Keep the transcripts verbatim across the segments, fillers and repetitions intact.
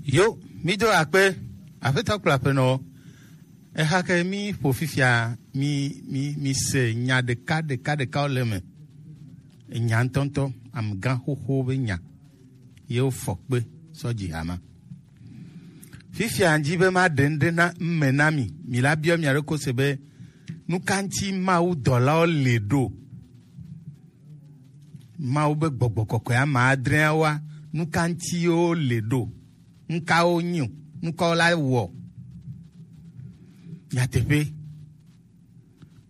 Yo, mi do akpe, aƒetɔ kple aƒenɔ. Eha ke mi ƒo fifia, mi, mi, mi se nya ɖeka, ɖeka, ɖekawo le eme. Enya ŋutɔŋutɔ, amegã xoxo be nya. Ye wofɔ kpe sɔ dzi hama. Fifia ŋdi be ma ɖe ŋɖe na ŋme na mi. Mi la biɔ mia ɖokui se be, nu ka ŋuti Mawu dɔlawo le ɖo? Mawu be gbɔgbɔ kɔkɔe ame adreawoa, nu ka ŋuti wo le ɖo? Nu ka wo nyi o? Nu ka wo la wɔ? Nyateƒe.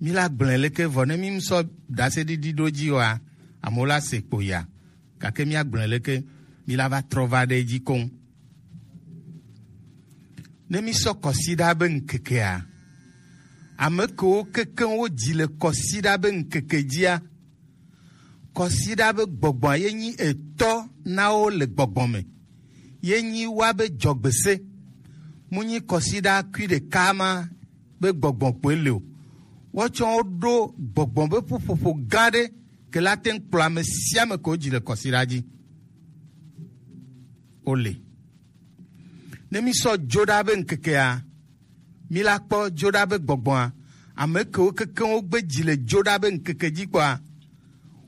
Mi la gblɔe leke vɔ ne mi sɔ ɖaseɖiɖi ɖo dzi oa, amewo la se kpo ya. Gake mi agblɔe leke, mi la va trɔ va ɖe edzi koŋ. Ne mi sɔ kɔsiɖa be ŋkekea, ame kewo kekeŋ wo dzi le kɔsiɖa be ŋkeke dzia, kɔsiɖa be gbɔgbɔa ye nyi etɔ na wo le gbɔgbɔ me. Ye nyi wa be dzɔgbese. Mu nyi kɔsiɖa kui ɖeka ma be gbɔgbɔ kpoe le o. Wotsɔ wo ɖo gbɔgbɔ be ƒuƒoƒo gã ɖe ke la te ŋu kplɔ ame sia ame ke wo dzi le kɔsiɖa dzi. Wo le. Ne mi sɔ dzo ɖa be ŋkekea, mi la kpɔ dzo ɖa be gbɔgbɔa, ame kewo kekeŋ wo gbe dzi le dzo ɖa be ŋkeke dzi kpɔa,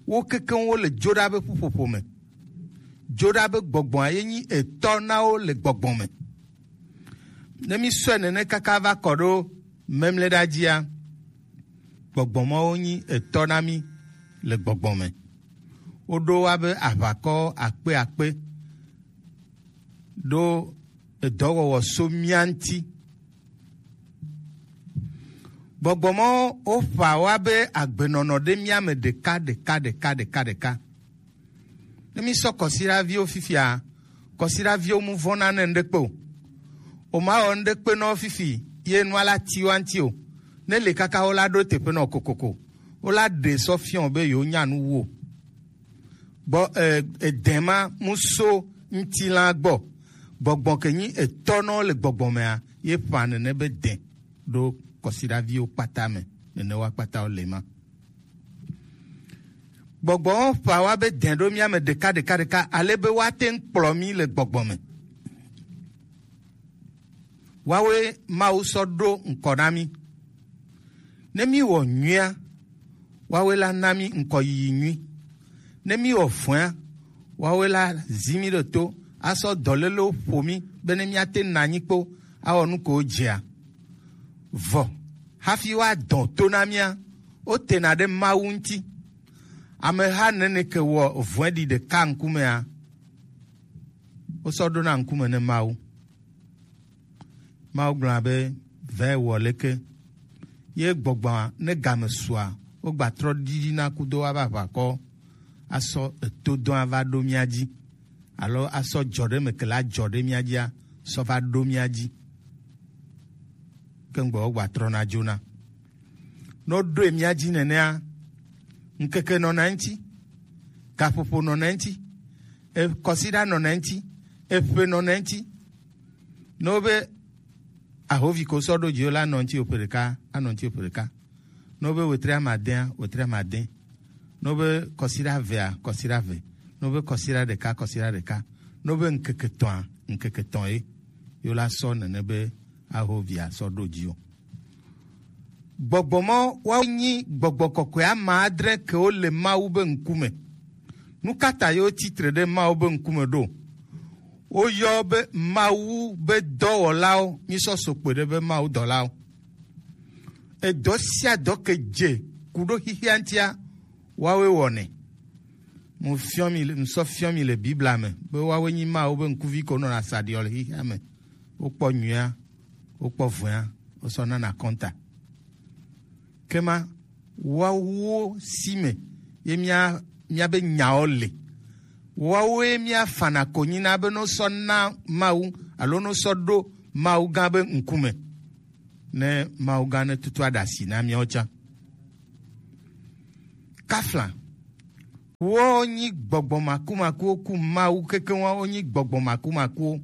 wo kekeŋ wo le dzo ɖa be ƒuƒoƒo me. Dzo ɖa be gbɔgbɔa ye nyi etɔ na wo le gbɔgbɔ me. Ne mi sɔe nene kaka va kɔ ɖo memlɛ ɖa dzia, gbɔgbɔ mawo nyi etɔ na mi le gbɔgbɔ me. Woɖo wa be aʋakɔ akpe akpe ɖo edɔwɔwɔ so mía ŋuti. Gbɔgbɔ mawo woƒã wa be agbenɔnɔ ɖe mía me ɖeka, ɖeka, ɖeka, ɖeka, ɖeka. Ne mi sɔ kɔsiɖaviwo fifia, kɔsiɖaviwo mu vɔna ne ŋɖekpe o. O ma wɔ ŋɖekpe nɔ fifi, ye nua la ti wa ŋuti o. Ne le kaka wo la ɖo teƒe nɔ kokoko. Wo la ɖe sɔ fiɔ be yewo nya nu wu o. Gbɔ, e, edɛma mu so ŋutilã gbɔ. Gbɔgbɔ ke nyi etɔ nɔ le gbɔgbɔ mea, ye ƒã nene be dɛ ɖo kɔsiɖaviwo kpata me. Nene wa kpata wo le ma. Gbɔgbɔ ƒã wa be dɛ ɖo mía me ɖeka, ɖeka, ɖeka, ale be woate ŋu kplɔ mí le gbɔgbɔ me. Woawoe Mawu sɔ ɖo ŋkɔ na mí. Ne míwɔ nyuia, woawoe la na mí ŋkɔyiyi nyui. Ne míwɔ vɔ̃a, woawoe la zi mí ɖe to, asɔ dɔlélewo ƒo mí, be ne míate ŋu nɔ anyi kpo, awɔ nu ko dzea. Vɔ, hafi woadɔ to na mía, wotena ɖe Mawu ŋuti. Ameha nene ke wɔ vɔ̃ɖi ɖeka ŋkumea, wosɔ ɖona ŋkume ne Mawu. Mawu gblɔna be, "Vɛ wɔ leke?" Ye gbɔgbɔa, ne game sua, wogba trɔ ɖiɖina kudo ava aʋakɔ, asɔ etodɔa va ɖo mía dzi, alo asɔ dzɔ ɖe me ke la dzɔ ɖe mía dzia, sɔ va ɖo mía dzi. Ke ŋgbɔ wogba trɔna dzona. Ne woɖoe mía dzi nenea, ŋkeke nɔna eŋuti, gaƒoƒo nɔna eŋuti, e, kɔsiɖa nɔna eŋuti, eƒe nɔna eŋuti. Ne wobe ahovi ko sɔ ɖo dzi wo la, anɔ eŋuti ƒe ɖeka, anɔ eŋuti ƒe ɖeka. Ne wobe wetri amadea, wetri amade. Ne wobe kɔsiɖa evea, kɔsiɖa eve. Ne wobe kɔsiɖa ɖeka, kɔsiɖa ɖeka. Ne wobe ŋkeke etɔ̃a, ŋkeke etɔ̃ ye. Ye wo la sɔ nene be ahovi asɔ ɖo dzi o. Gbɔgbɔ ma woawo nyi gbɔgbɔ kɔkɔe ame adre kewo le Mawu be ŋkume. Nu ka ta yewo tsi tre ɖe Mawu be ŋkume ɖo? Woyɔ be Mawu be dɔwɔlawo, mísɔ so kpe ɖe be Mawu dɔlawo. Edɔ sia dɔ ke dze ku ɖo xixia ŋutia, woawoe wɔnɛ. Mu fiɔ mi, mu sɔ fiɔ mi le Biblia me be woawoe nyi Mawu be ŋkuvi ko nɔna sa ɖiɔ le xixia me. Wokpɔ nyuia, wokpɔ vɔ̃a, wosɔ nana kɔnta. Ke ma, woawo si me ye mía, míabe nyawo le. Woawoe míafana konyi na be no sɔ na Mawu alo no sɔ ɖo Mawu gã be ŋkume. Ne Mawu gã ne tutu aɖe asi na míawo tsã. Kafla, wonyi gbɔgbɔ makumakuwo ku Mawu kekeŋ wa wonyi gbɔgbɔ makumakuwo.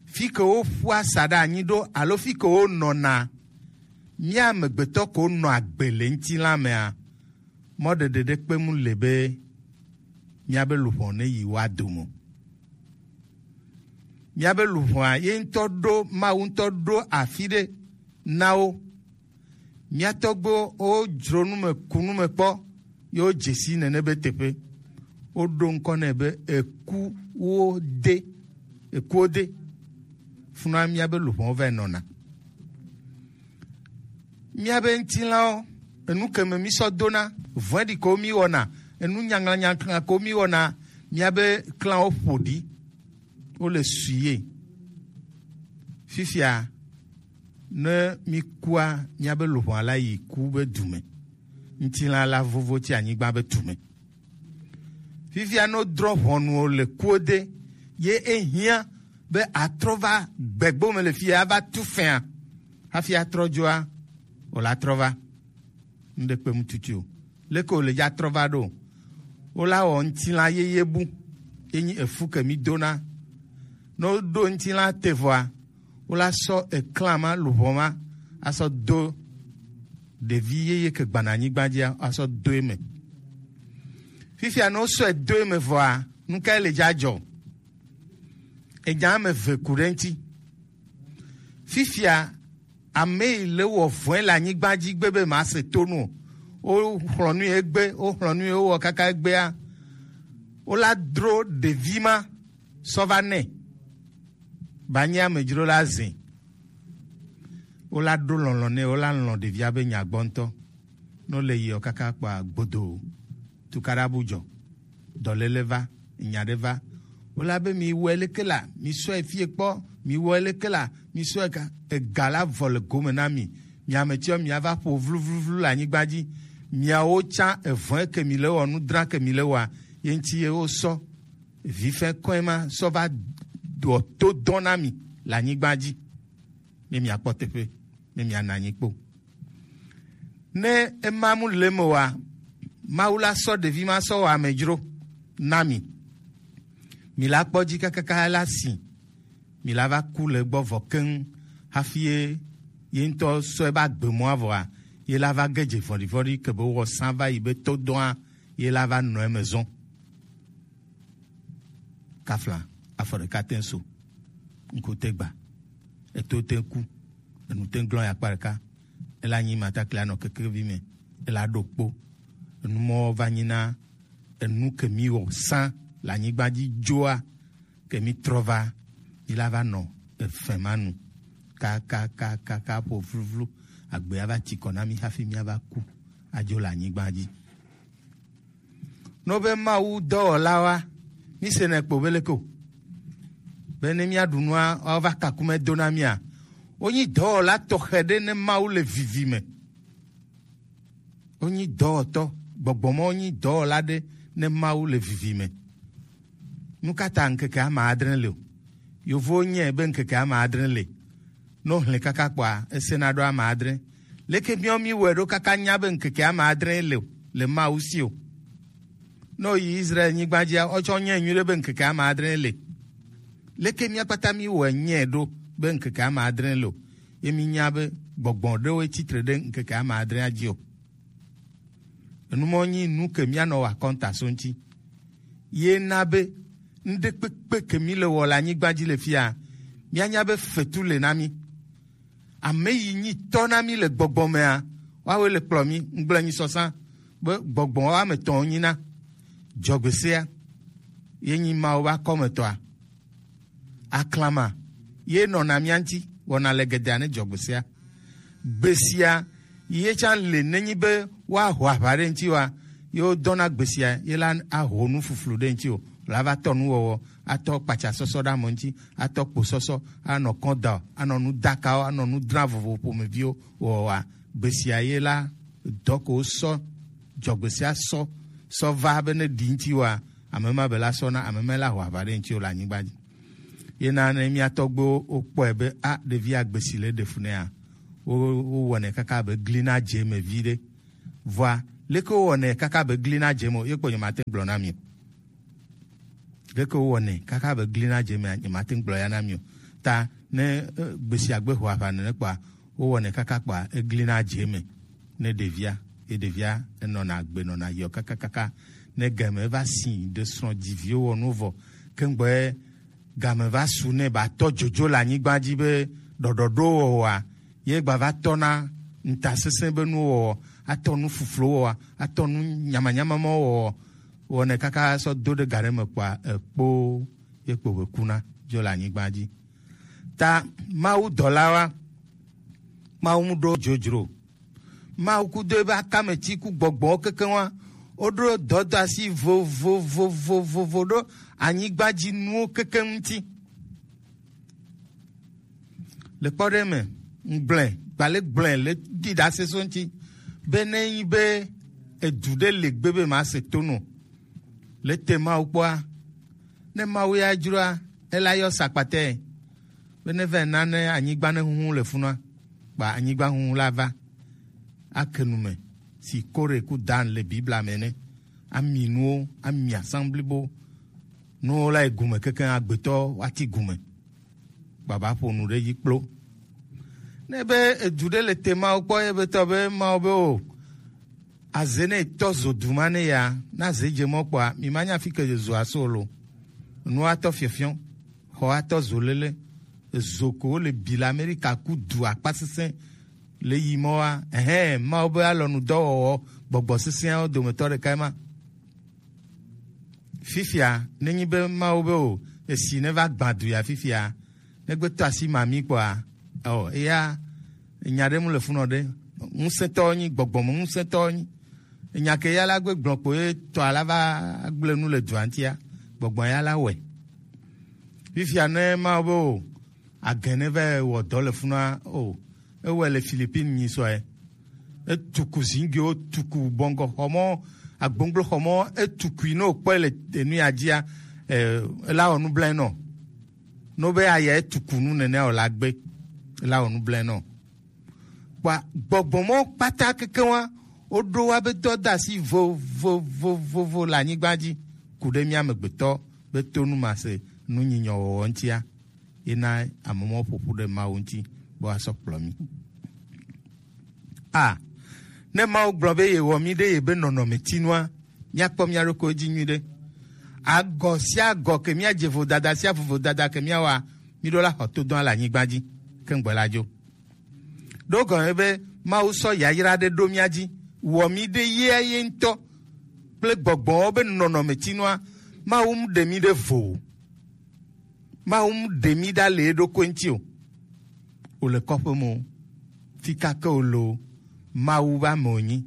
Fi ke woƒua sa ɖe anyi ɖo alo fi ke wonɔna, mía amegbetɔ ko nɔ agbe le ŋutilã mea, mɔɖeɖe ɖe kpe mu le be míabe luʋɔ ne yi wa dome o. Míabe luʋɔa ye ŋutɔ ɖo, Mawu ŋutɔ ɖo afi ɖe na wo. Mía tɔgbuiwo wodzro nu me, ku nu me kpɔ, ye wodze si nene be teƒe. Woɖo ŋkɔ nɛ be ekuwo de, ekuwo de. Funua míabe luʋɔwo va nɔna. Míabe ŋutilãwo, enu ke me mí sɔ dona, vɔ̃ɖi ko mí wɔna, enu nyaŋlanyaŋla ko mí wɔna, míabe klãwo ƒo ɖi, wo le sui ye. Fifia, ne mí kua, míabe luʋɔa la yi ku be du me. Ŋutilã la vovo tsi anyigba be du me. Fifia no drɔ̃ ʋɔnu o le kuode, ye ehiã be atrɔ va gbegbo me le fia ava tu fɛa. Hafi atrɔ dzoa, o la trɔ va. Ŋɖe kpe mu tutu o. Leke o le dza trɔ va ɖo? Wo la wɔ ŋutilã yeye bu. Ye nyi efu ke mi dona. Ne woɖo ŋutilã te vɔa, wo la sɔ eklã ma, luʋɔ ma, asɔ do ɖevi yeye ke gbana anyigba dzia, asɔ do eme. Fifia ne wosɔe do eme vɔa, nu kae le dza dzɔ? Enya ame eve ku ɖe ŋuti. Fifia ame yi le wɔ vɔe le anyigba dzi gbe be ma se tonu o. Wo xlɔ̃ nu ye gbe, wo xlɔ̃ nu ye wowɔ kaka egbea. Wo la dro ɖevi ma sɔ va nɛ. Ba nye amedzro la zẽ. Wo la ɖo lɔlɔ̃ nɛ, wo la lɔ̃ ɖevia be nya gbɔ ŋutɔ. Ne wole yiɔ kaka kpɔa, gbodo, tukaɖa bu dzɔ, dɔléle va, nya ɖe va. Wole abe, miwɔe leke la, misɔe fie kpɔ, miwɔe leke la, misɔe ka, ega la vɔ le gome na mi. Mi ame tsiɔ, miava ƒo vluvluvlu le anyigba dzi. Miawo tsã, evɔ̃e ke mi le wɔ, nudra ke mi le wɔa, ye ŋuti ye wosɔ vifɛ kɔe ma sɔ va ɖɔ to dɔn na mi le anyigba dzi. Ne miakpɔ teƒe, ne miana anyi kpo. Ne ema mu le me wa, Mawu la sɔ ɖevi ma sɔ wɔ amedzro na mi. Mi la kpɔ dzi kakaka la si. Mi la va ku le gbɔ vɔ keŋ hafi ye, ye ŋutɔ sɔ ebe agbe mɔa vɔa, ye la va ge dze vɔ̃ɖivɔ̃ɖi ke be wɔ sã va yi be to dɔa, ye la va nɔ eme zɔn. Kafla, afɔ ɖeka te ŋ so, ŋku te gba, eto te ŋ ku, enu te ŋ glɔ̃ yi akpa ɖeka, ela nyi matakli anɔ kekevi me, ela ɖo kpo. Enu mɔ va nyi na enu ke mi wɔ sã le anyigba dzi dzoa, ke mi trɔ va, mi la va nɔ efɛ ma nu. Ka, ka, ka, ka, ka ƒo vluvlu, agbea va tsi kɔ na mi hafi mi ava ku adzo le anyigba dzi. No be Mawu dɔwɔlawoa, mi se nɛ kpo be leke o. Be ne mia ɖu nua, woava kaku me do na mia. Wonyi dɔwɔla tɔxɛ ɖe ne Mawu le vivi me. Wonyi dɔwɔtɔ, gbɔgbɔ ma wonyi dɔwɔla ɖe ne Mawu le vivi me. Nu ka ta ŋkeke ama adre le o? Yovowo nyae be ŋkeke ama adre le. Ne wohlẽ kaka kpɔa, esena ɖo ama adre. Leke míawo míwɔe ɖo kaka nya be ŋkeke ama adre le o, le Mawu si o? Ne woyi Israel nyigba dzia, wotsɔ nyae nyuie ɖe be ŋkeke ama adre le. Leke mía kpata míwɔe nyae ɖo be ŋkeke ama adre le o? Ye mínya be gbɔgbɔ ɖewoe tsitre ɖe ŋkeke ama adrea dzi o. Enu mɔ nyi nu ke míanɔ wɔ akɔnta so ŋuti. Ye na be ŋɖekpekpe ke mi le wɔ le anyigba dzi le fia, míanya be fetu le na mi. Ame yi nyi tɔ na mi le gbɔgbɔ mea, woawoe le kplɔ mi. Ŋgblẽ nyi sɔsã be gbɔgbɔ woame etɔ̃ wonyi na. Dzɔgbesea ye nyi Mawu be akɔmetɔa. Aklama ye nɔna mía ŋuti wɔna le gedea ne dzɔgbesea. Gbesia ye tsã le nenyi be woaho aʋa ɖe ŋuti wa, ye wodɔna gbesia ye la aho nu fuflu ɖe ŋuti o. La va tɔ nuwɔwɔ, atɔ kpatsa sɔsɔ ɖe ame ŋuti, atɔ kpo sɔsɔ, anɔ kɔn da o, anɔ nu dakawo, anɔ nu dra vovo ƒomeviwo wɔwɔa. Gbesia ye la dɔ ko sɔ, dzɔgbesia sɔ, sɔ va be ne ɖi ŋuti wa, ame ma be la sɔ na, ame ma la ho aʋa ɖe ŋuti o le anyigba dzi. Ye na ne mía tɔgbuiwo wokpɔe be, a, ɖevi agbesi le ɖe fu nɛa, wo, wowɔnɛ kaka be gli na dze eme viɖe. Vɔa, leke wowɔnɛ kaka be gli na dze eme o, ye kpo nyemate ŋu gblɔ na mi o. Leke wowɔnɛ kaka be gli na dze emea, nyemate ŋu gblɔ ya na mi o. Ta ne, eh, gbesia gbe ho aʋa nene kpɔa, wowɔnɛ kaka kpɔa, eglina dze eme ne ɖevia, ye ɖevia enɔna agbe nɔna yiɔ kakakaka. Ne game va si ɖe srɔ̃ dzi viwo wɔ nu vɔ, keŋgbɔe game va su nɛ ba tɔ dzodzo le anyigba dzi be ɖɔɖɔɖo wɔwɔa, ye gba va tɔ na ŋutasesẽ be nuwo wɔwɔ, atɔ nu fuflo wɔwɔa, atɔ nu nyamanyama ma wɔwɔ, wɔnɛ kaka sɔ do ɖe ga ɖe me kpoa, ekpo ye kpo be kuna dzo le anyigba dzi. Ta Mawu dɔlawoa, Mawu mu ɖo dzodzro. Mawu kudo ebe akameti ku gbɔgbɔwo kekeŋ wa, woɖo dɔdɔasi vovovovovovo ɖo anyigba dzi nuwo kekeŋ ŋuti. Le kpɔ ɖe me, ŋgblẽ, gbale gblẽ le ɖi ɖase so ŋuti be ne nyi be edu ɖe le gbe be ma se to no le te Mawu kpɔa, ne Mawu ya dzroa, ela yɔ sakpatɛ be ne va na ne anyigba ne huhu le funua, kpa anyigba huhu la va ake nu me si Kore ku Dan le Biblia me ne ami nuwo, ami assemblibo nuwo la yi gume kekeŋ agbetɔ wati gume. Baba ƒo nu ɖe edzi kplo. Ne be edu ɖe le te Mawu kpɔ ye be tɔ be Mawu be o, aze ne tɔ zo du ma ne ya, na ze dze mɔ kpɔa, mi ma nya fi ke zo aso lo. Nu atɔ fiɔfiɔ, xɔ atɔ zo lele, ezo ko wo le bi le Amerika ku du akpa sesẽ le yi mɔ wa, ɛhɛn, Mawu be alɔnu dɔwɔwɔ gbɔgbɔ sesẽawo dometɔ ɖeka ma. Fifia, nenyi be Mawu be o, esi ne va gbã du ya fifia, ne gbe tɔ asi ma mi kpɔa, ɔ, eya, enya ɖe mu le funɔ ɖe, ŋusẽtɔwo nyi, gbɔgbɔ me ŋusẽtɔwo nyi. Enya ke ya la gbe gblɔ kpo ye tɔ ala va gblẽ nu le dua ŋutia, gbɔgbɔ ya la wɔe. Fifia ne Mawu be o, agɛnɛ vɛ wɔ dɔ le funua o. Ewɔe le Philippines nyi sɔɛ. Etuku zingiwo, tuku bɔngɔ xɔmɔ, agbonglo xɔmɔ, etukui no kpɔe le enu ya dzia, eh, ela wɔ nu blɛ nɔ. No be aya etuku nu nene o la gbe, ela wɔ nu blɛ nɔ. Kpa gbɔgbɔ mɔ kpata kekeŋ wa, woɖo wa be dɔdasi vovovovovo le anyigba dzi, ku ɖe mía amegbetɔ be to nu ma se nu nyinyɔ wɔwɔ ŋutia. Ye na ame mawo ƒo ƒu ɖe Mawu ŋuti be woasɔ kplɔ mí. A, ne Mawu gblɔ be yewɔ mí ɖe yebe nɔnɔmetinua, míakpɔ mía ɖokuiwo dzi nyuiɖe. Agɔ sia agɔ ke míadze vodada sia vovodada ke míawɔa, míɖo la xɔ todɔa le anyigba dzi keŋgbe la dzo. Ɖo gɔme be Mawu sɔ yayra ɖe ɖo mía dzi, wɔ mí ɖe yea ye ŋutɔ kple gbɔgbɔwo be nɔnɔmetinua, Mawu mu ɖe mí ɖe vo o. Mawu mu ɖe mí ɖa le eɖokui ŋuti o. Wòle kɔƒe me o. Fi ka ke wòle o, Mawu be ame wònyi.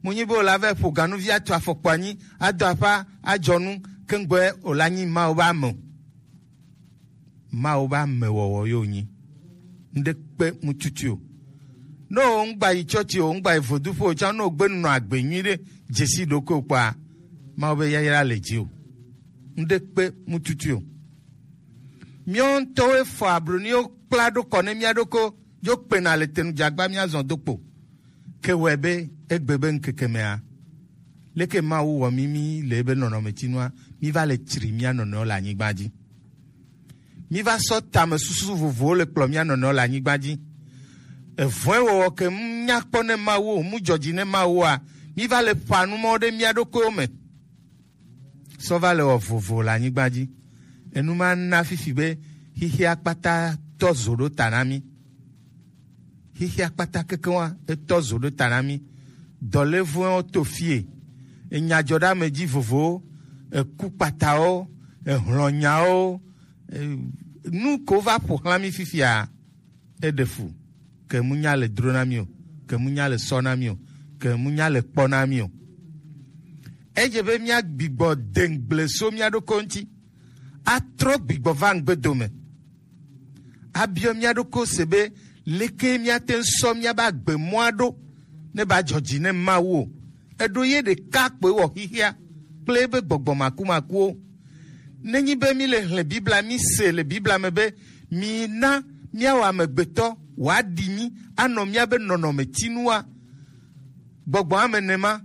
Mu nyi be wòle ava ƒo ganuvi atu afɔkpa anyi, ado aƒa, adzɔ nu, keŋgbɔe wòle anyi Mawu be ame o. Mawu be amewɔwɔ ye wònyi. Ŋɖe kpe mu tutu o. Ne wò ŋgba yi tsɔtsi o, ŋgba yi voduƒe o, tsã ne wògbe nɔ agbe nyuiɖe, dzesi ɖokuiwò kpɔa, Mawu be yayra le dzi o. Ŋɖe kpe mu tutu o. Míawo ŋutɔwoe fɔ abloniwo kpla ɖo kɔ ne mía ɖokui, dzo kpena le tenu dze agba míazɔ do kpo. Ke wɔe be egbe be ŋkeke mea, leke Mawu wɔ mí mí le ebe nɔnɔmetinua, mí va le tsri mía nɔnɔewo le anyigba dzi. Mí va sɔ tamesusu vovovowo le kplɔ mía nɔnɔewo le anyigba dzi. Evɔ̃e wɔwɔ ke mu nya kpɔ ne Mawu o, mu dzɔdzi ne Mawu oa, mí va le ƒa nu mawo ɖe mía ɖokuiwo me. Sɔ va le wɔ vovo le anyigba dzi. Enu ma na fifi be xixia kpata tɔ zo ɖo ta na mí. Xixia kpata kekeŋ wa etɔ zo ɖo ta na mí. Dɔlévɔ̃wo to fie. Enyadzɔɖeamedzi vovowo, eku kpatawo, ehlɔnyawo, e, nu ko va ƒo xlã mí fifia. Eɖe fu, ke mu nya le dro na mí o, ke mu nya le sɔ na mí o, ke mu nya le kpɔ na mí o. Edze be mía gbigbɔ de ŋgble so mía ɖokui ŋuti, atrɔ gbigbɔ va ŋgbe dome, abiɔ mía ɖokui se be leke míate ŋu sɔ míabe agbe mɔa ɖo ne ba dzɔ dzi ne Mawu o. Eɖo ye ɖeka kpoe wɔ xixia kple ebe gbɔgbɔ makumakuwo. Nenyi be mí le hlẽ Biblia, mí se le Biblia me be, mina míawɔ amegbetɔ wòaɖi mí anɔ míabe nɔnɔmetinua. Gbɔgbɔ ame nɛ ma,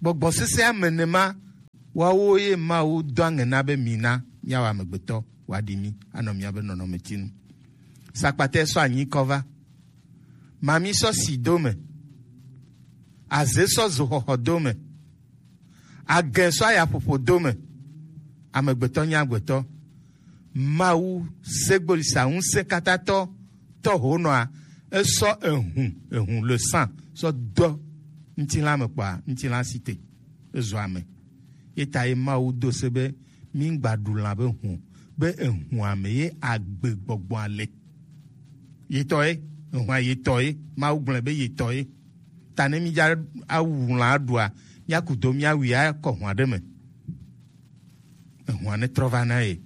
gbɔgbɔ sesẽ ame nɛ ma, woawo ye Mawu do aŋe na be mina míawɔ amegbetɔ wòaɖi mí anɔ míabe nɔnɔmetinu. Sakpatɛ sɔ anyi kɔ va. Mami sɔ si do me. Aze sɔ zo xɔxɔ do me. Agɛ sɔ ayaƒoƒo do me. Amegbetɔ nye agbetɔ. Mawu segboli sa ŋusẽkatãtɔ tɔ ho nɔa, esɔ ehun, ehun le san sɔ dɔ ŋutilã me kpɔa, ŋutilã si te ezu ame. Ye ta ye Mawu do se be mi ŋgba ɖu lã be hun, be ehun ame ye agbe gbɔgbɔa le. Yetɔ ye, ehun yetɔ ye, Mawu gblɔe be yetɔ ye. Ta ne mi dza awu lã aɖua, mi aku do mi awui akɔ hun aɖe me. Ehun ne trɔ va na ye.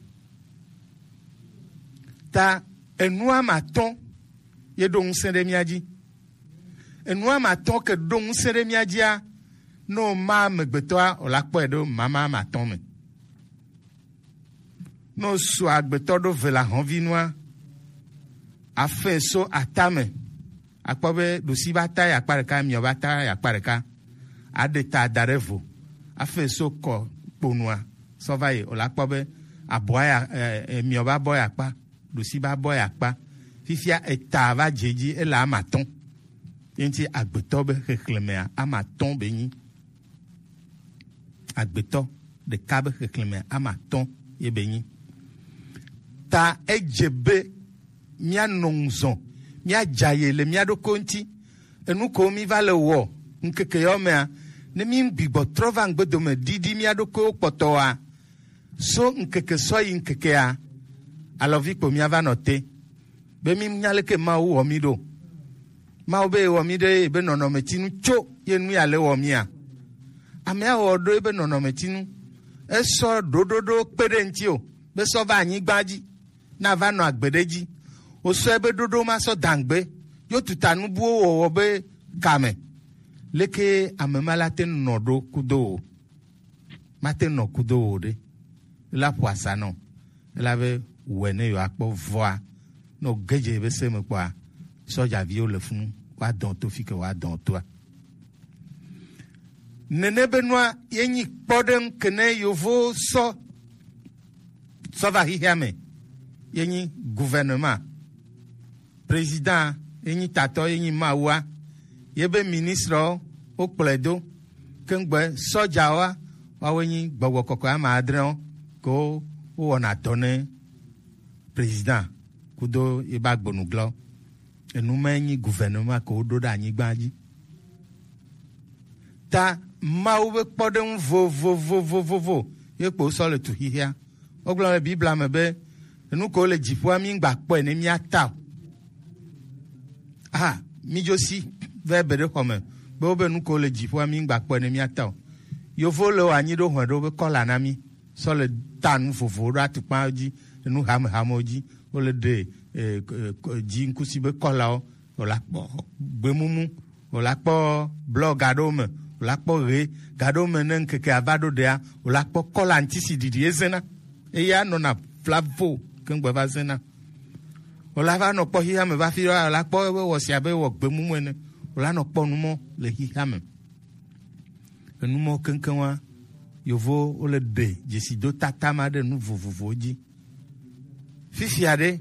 Ta enua ma tɔn ye ɖo ŋusẽ ɖe mia dzi. Enua ma tɔn ke ɖo ŋusẽ ɖe mia dzia, no ma amegbetɔa, o la kpɔe ɖo mama ma tɔn me. No su agbetɔ ɖo ve la hɔnvi nua, afɛ so atame, akpɔ be ɖusi ba ta ya akpa ɖeka, miɔ ba ta ya akpa ɖeka, aɖe ta da ɖe vo, afɛ so kɔ kponua sɔ va yi, o la kpɔ be abɔa ya, e, e, miɔ ba bɔ ya akpa, ɖusi ba bɔ ya akpa. Fifia eta va dze dzi, ele ama tɔn. Ye ŋuti agbetɔ be xexlẽmea ama tɔn be nyi. Agbetɔ ɖeka be xexlẽmea ama tɔn ye be nyi. Ta edze be mia nɔ ŋuzɔn, mia dza ye le mia ɖokui ŋuti. Enu ko mi va le wɔ ŋkeke yɔ mea, ne mi gbigbɔ trɔ va ŋgbedome ɖiɖi mia ɖokuiwo kpɔtɔa, so ŋkeke sɔ yi ŋkekea, alɔvi kpo mia va nɔ te. Be mi nya leke Mawu wɔ mi ɖo. Mawu be wɔ mi ɖe be nɔnɔmetinu tso ye nu ya le wɔ mia. Amea wɔ ɖo ebe nɔnɔmetinu. Esɔ ɖoɖoɖo kpe ɖe ŋuti o, be sɔ va anyigba dzi, na va nɔ agbe ɖe dzi. Wosɔ ebe ɖoɖo ma sɔ dangbe, yo tuta nubuwo wɔwɔ be kame. Leke ame ma la te nɔ ɖo kudo o. Mate nɔ kudo o ɖe. La ƒo asa nɔ. Ela be wɛ ne yewoakpɔ vɔa, ne wòge dze be se me kpɔa, sɔdzaviwo le funu, woadɔn to fi ke woadɔn toa. Nene be nua ye nyi kpɔɖeŋu ke ne yovo sɔ, sɔ va xixia me, ye nyi gouvernement. Président ye nyi tatɔ, ye nyi Mawua, ye be ministrewo, wo kplɔe do. Keŋgbɛ sɔdzawoa, woawoe nyi gbɔgbɔ kɔkɔe ame adrewo, ke wo, wowɔna dɔ ne président kudo ye be agbonuglɔ. Enu ma nyi gouvernement ke woɖo ɖe anyigba dzi. Ta Mawu be kpɔɖeŋu vovovovovovo ye kpo sɔ le tu xixia. Wogblɔ le Biblia me be, enu ko le dziƒoa, mi ŋgba kpɔe ne mia ta o. Ah, mi dzo si va ebe ɖe xɔ me be wobe nu ko le dziƒoa, mi ŋgba kpɔe ne mia ta o. Yovo le wo anyi ɖo hɔe ɖo be kɔla na mi. Sɔ le ta nu vovowo ɖo atukpa dzi, nu hamehamewo dzi. Wole ɖe, eh, eh, dzi ŋkusi be kɔlawo, wòla kpɔ gbemumu, wòla kpɔ blɔ ga ɖewo me, wòla kpɔ ɣe ga ɖewo me. Ne ŋkeke ava ɖo ɖea, wòla kpɔ kɔla ŋutisiɖiɖi ezena. Eya nɔna flavo keŋgbe va zena. Wòla va nɔ kpɔ xixea me va fi ɖewoa, wòla kpɔ ebe wɔ si abe wɔ gbemumu ene. Wòla nɔ kpɔ numɔ le xixea me. Enumɔ keŋkeŋ wa, yovo wole ɖe dzesido tata ma ɖe nu vovovowo dzi. Fifia ɖe,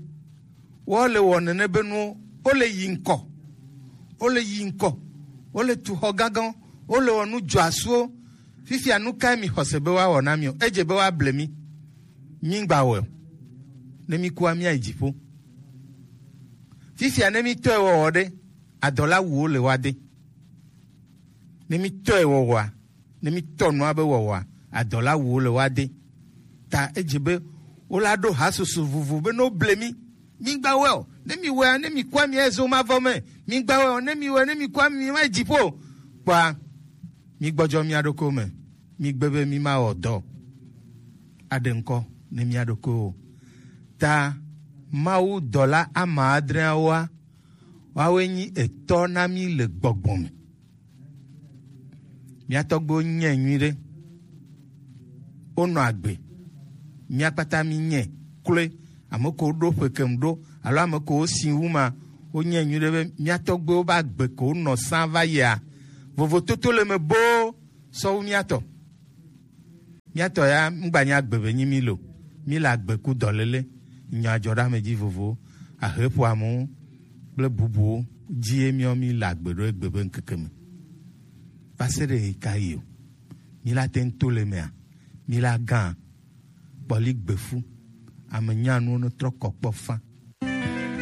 woale wɔ nene be nuwo, wole yi ŋkɔ, wole yi ŋkɔ, wole tu xɔ gãgãwo, wole wɔ nu dzɔasuwo. Fifia nu kae mi xɔse be woawɔ na mi o? Edze be woable mi. Mi ŋgba wɔe o. Ne mi kua, mi ayi dziƒo. Fifia ne mi tɔe wɔwɔ ɖe, adɔla wuwo le woa de. Ne mi tɔe wɔwɔa, ne mi tɔ nua be wɔwɔa, adɔla wuwo le woa de. Ta edze be wola ɖo hasusu vovo be ne woble mi, mi ŋgba wɔe o. Ne mi wɔea, ne mi kua, mi azo ma vɔ me. Mi ŋgba wɔe o. Ne mi wɔe, ne mi kua, mi ma yi dziƒo o. Kpɔa, mi gbɔdzɔ mia ɖokuiwo me. Mi gbe be mi ma wɔ dɔ aɖe ŋkɔ ne mia ɖokuiwo o. Ta Mawu dɔla ama adreawoa, woawoe nyi etɔ na mí le gbɔgbɔ me. Mía tɔgbuiwo nyɛ nyuiɖe. Wonɔ agbe. Mía kpata mí nyɛ kloe. Ame ko ɖo ƒe kem ɖo alo ame ko wosi wu ma, wonyɛ nyuiɖe be mía tɔgbuiwo be agbe ko wonɔ sã va yia, vovototo le me boo sɔ wu mía tɔ. Mía tɔ ya, ŋgba nya agbe be nyi mí lo. Mí le agbe ku dɔléle, nya dzɔ ɖe ame dzi vovo, ahe ƒo amewo kple bubuwo dzi ye míawo mí le agbe ɖo egbe be ŋkeke me. Va se ɖe ɣe ka ɣi o? Mí la te ŋu to le mea? Mí la gã kpɔli gbefu, ame nyanuwo ne trɔ kɔ kpɔ fã.